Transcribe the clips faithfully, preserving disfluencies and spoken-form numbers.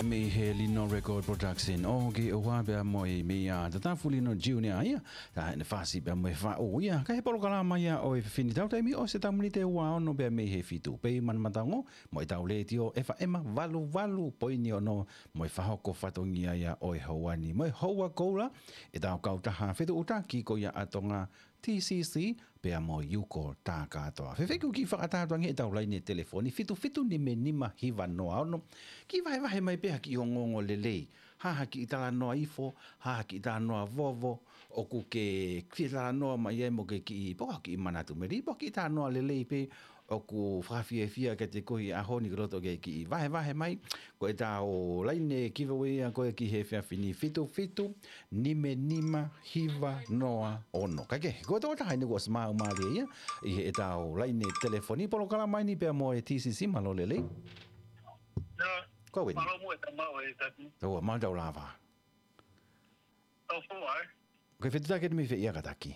Mei he Lino Record Production ʻo ke ʻoua pea mo e mei a Tatafu Lino Junior ia. Ta ʻene fasi pea mo e faʻu ia. Ka he polokalama ia ʻo e fefine tau taimi ʻo se tamunite ua ono pea mei he fitu. Pei manamatango mo e tau lētio F M valu valu poini ono mo e fahoko fatongia ia ʻo e houa ni. Mo e houa koula e tau kautaha fetuʻutaki ko ia ʻa Tonga T C C, pea mo Yuko Takatoa. Fefeku ki fakatā tuangi e tau laine telefoni, fitu fitu nime nima hiva noa ono. Ki vahevahe mai pea ki ongoongo lelei. Ha ha ki talanoa ifo, ha ha ki talanoa vovo, ʻoku ke ki talanoa mai ai mo ke ki po ki manatu meli, po ki talanoa lelei pē, ʻoku fakafiefia ke te kohi ʻaho ni ke loto ke ki vahevahe mai. Ko e tau laine ki vau ia ko e ki he fiafini fitu fitu, nime nima hiva noa ono. Ka ke, ko tō taha ni ko Smau Malia ia, ʻi he tau laine telefoni polokalama ni pea mo e T C C mālō lelei. Ko wini. Mālō mo e tamau e taki. Tō, mālō tau lava. Tau fua, eh? Ko e fetu take ni mei fē ia ka taki.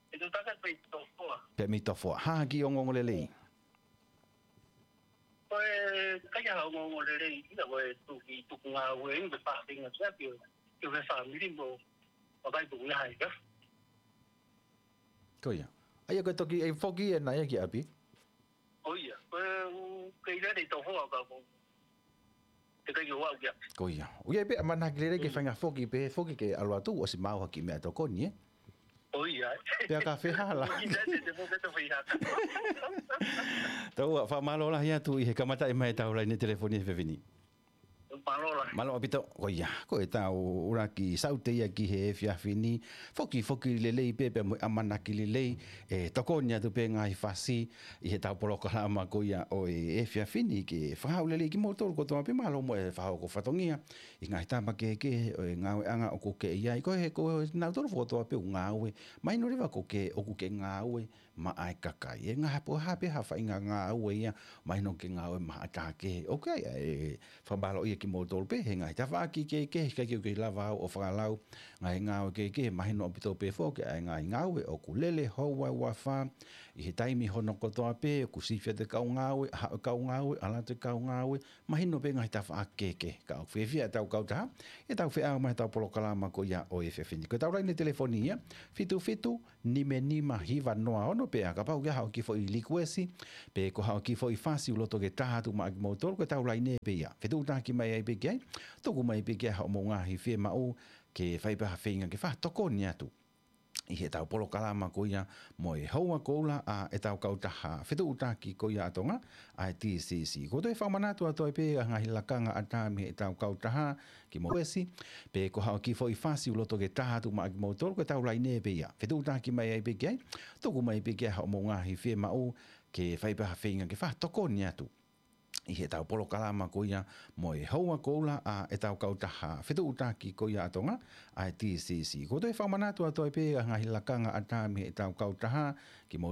Fetu take mei tau fua. Pea mei tau fua. Ha ki ongoongo lelei. Ko e kai ha ongoongo lelei, ia ko e tuki, tuku ngāue, i te pāhinga kia ki, ki he fāmili mo, o kai tuku ia hai ka. Ko ia. Aia ko e toki, e foki e na ia ki ʻapi. Ko ia, ko e u, kei lelei tau hoa ka ko. Te kai o au kia. Ko ia. Ui ai pē ʻamanaki lelei ke fainga foki, pē foki ke ʻalu atu, ʻosi mau ha ki meʻa tokoni, eh? Ko ia. Pea ka fehala. Ko ia, te, te, te, te, te, Tau ua, fakamālō lahi atu ʻi he kamata e mai tau laine telefoni he fefini. Mālō lahi. Mālō ʻaupito, ko ia, ko e tau ʻuluaki saute ia ki he efiafi ni, foki, foki lelei pē, pea mo e ʻamanaki lelei, e tokoni atu pē ngaahi fasi, ʻi he tau polokalama ko ia ʻo e efiafi ni ke fakahau lelei kimoutolu kotoa pē mālō mo e fakahoko fatongia, ʻi he ngaahi tapa kehekehe, ʻo e ngāueʻanga ʻoku ke ʻi ai, ko e, ko e nautolu kotoa pē ʻoku ngāue, mahino leva ko ke, ʻoku ke ngāue, maʻa e kakai. E ngaahi poha pē ha faʻahinga ngāue ia, mahino ke ngāue maʻa tā kehe. ʻOku ʻi ai, e, fakamālō ia kimoutolu pē, he ngaahi tafaʻaki kehekehe, ʻikai ke u kei lava au ʻo fakalau, ngaahi ngāue kehekehe, mahino ʻaupito pē foki, ʻa e ngaahi ngāue, ʻoku lele, houa, ua fā, ʻi he taimi hono kotoa pē, ʻoku sifia te kau ngāue, ha, kau ngāue, ʻalu atu e kau ngāue, mahino pē ngaahi tafaʻaki kehekehe. Ka ʻoku fiefia e tau kautaha, e tau feʻao mai tau polokalama ko ia ʻo e efiafi ni. Ko e tau laine telefoni ia, fitu fitu, nime nima hiva noa ono pea kapau ke haʻo ki foʻi likuesi, pe ko haʻo ki foʻi fasi ʻoku loto ke taha atu maʻa kimoutolu ko e tau laine pē ia. Fetuʻutaki mai ai pē ki ai, tuku mai pē ki ai haʻo mou ngaahi fiemaʻu ke fai pē ha feinga ke fakatokoni atu. ʻI he tau polokalama ko ia mo e houa koula ʻa e tau kautaha fetuʻutaki ko ia ʻa Tonga, ʻa e T C C. Ko e toe fakamanatu atu ai pē ʻa e ngaahi lakanga ʻatā mei he tau kautaha ki mo esi, pe ko haʻo ki foʻi fasi ʻoku loto ke taha atu maʻa kimoutolu ko e tau laine pē ia. Fetuʻutaki mai ai pē ki ai, tuku mai pē ki ai haʻo mou ngaahi fiemaʻu ke fai pē ha feinga ke fakatokoni atu. ʻI he tau polokalama ko ia mo e houa koula ʻa e tau kautaha fetuʻutaki ko ia ʻa Tonga, ʻa e T C C. Ko e toe fakamanatu atu ai pē ʻa e ngaahi lakanga ʻatā mei he tau kautaha ki mo